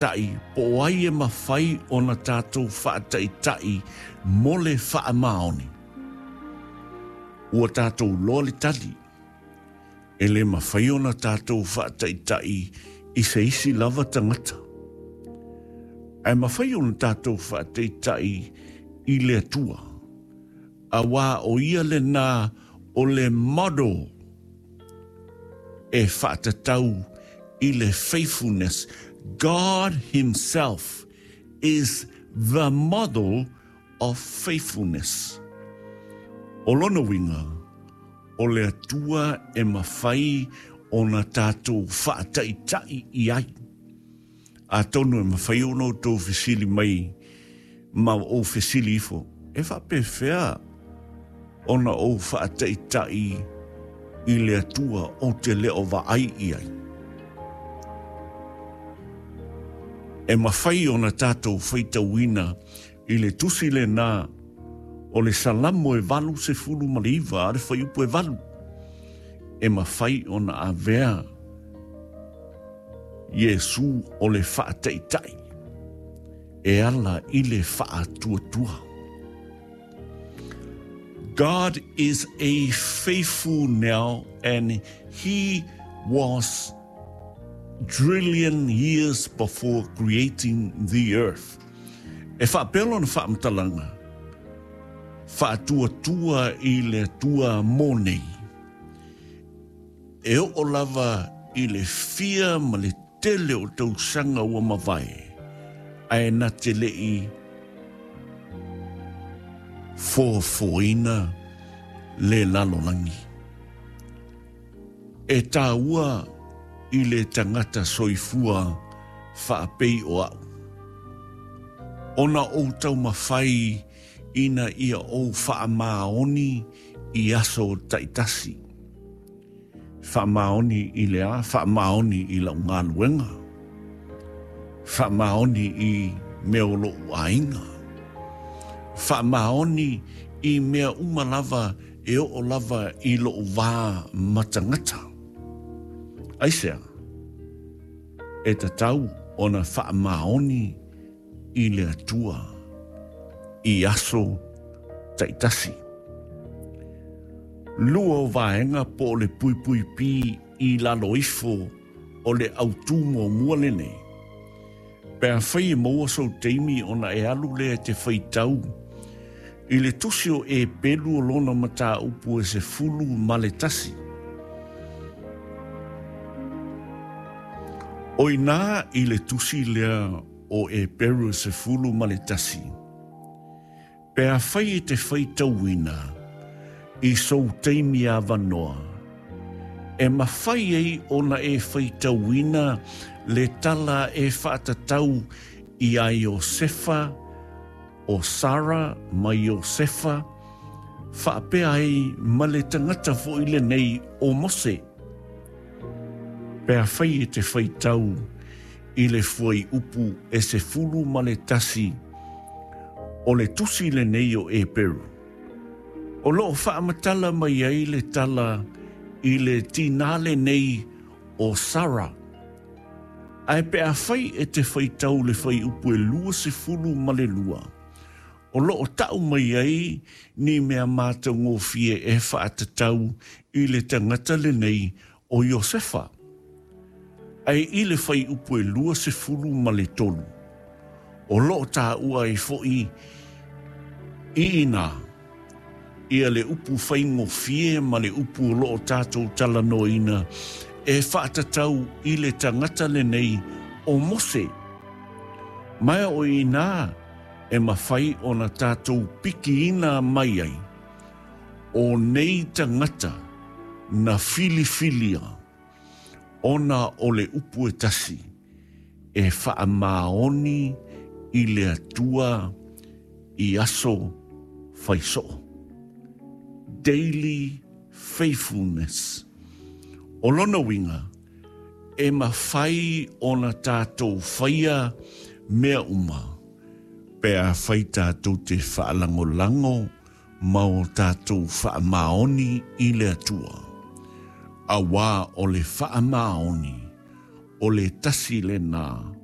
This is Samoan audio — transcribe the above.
Taʻi, po o ai e mafai ona tatou faataʻitaʻi mo le faamaoni? Ua tatou loa le tali. E le mafai ona tatou faataʻitaʻi i se isi lava tagata. Ae mafai ona tatou faataʻitaʻi i le Atua, auā o ia lenā o le model e faatatau i le faithfulness. God himself is the model of faithfulness. O lona uiga, o le Atua e mafai ona tatou faataʻitaʻi i ai. Atonu e mafai ona outou fesili mai ma ou fesili ifo, e faapefea ona ou faataʻitaʻi i le Atua ou te le o vaai i ai? E mafai ona tatou faitauina i le tusi lenā o le Salamo e 89 a le fuaiupu e 8, e mafai ona avea Iesū o le faataʻitaʻi e ala i le faatuatua. God is a faithful now and he was trillion years before creating the earth. E faapea lona faamatalaga, faatuatua i le Atua mo nei. E oo lava i le fia ma le tele o tausaga ua mavae, ae na te le i foafoaina le lalolagi. E taua i le tagata soifua faapei o a'u, ona ou taumafai ina ia ou faamaoni i aso taitasi. Faamaoni i le a? Faamaoni i lau galuega. Faamaoni i mea o loʻu aiga. Faamaoni i mea uma lava e oo lava i loʻu wā matagata. Aisea? E tatau ona faamaoni i le Atua i aso taitasi. Lua o vaega po o le puipuipī i lalo ifo o le autū muamua lenei. Pe afai e maua sou taimi ona e alu lea e te faitau i le tusi o Epelu o lona mataupu e 11. O inā i le tusi lea o Eperu 11, pe afai e te faitauina i sou taimi avanoa, e mafai ai ona e faitauina le tala e faatatau iā Iosefa, o Sara ma Iosefa, faapea ai ma le tagata foi lenei o Mose. Pe afai e te faitau i le fuaiupu e 11 o le tusi lenei o Eperu, o lo o faamatala mai ai le tala i le tinā lenei o Sara. Ae pe afai e te faitau le fuaiupu e 22, o lo o tau mai ai ni mea matagofie e faatatau i le tagata lenei o Iosefa. Ae i le fuaiupu e 23, o lo o taua ai foi i inā ia le upu faigofie ma le upu o lo o tatou talanoaina e faatatau i le tagata lenei o Mose. Ma o inā e mafai ona tatou pikiina mai ai, o nei tagata na filifilia ona o le upu e tasi e faamaoni i le Atua i aso faisoo. Daily faithfulness. O lona uiga, e mafai ona tatou faia mea uma pe afai tatou te faalagolago ma o tatou faamaoni i le Atua, auā o le faamaoni o le tasi lenā.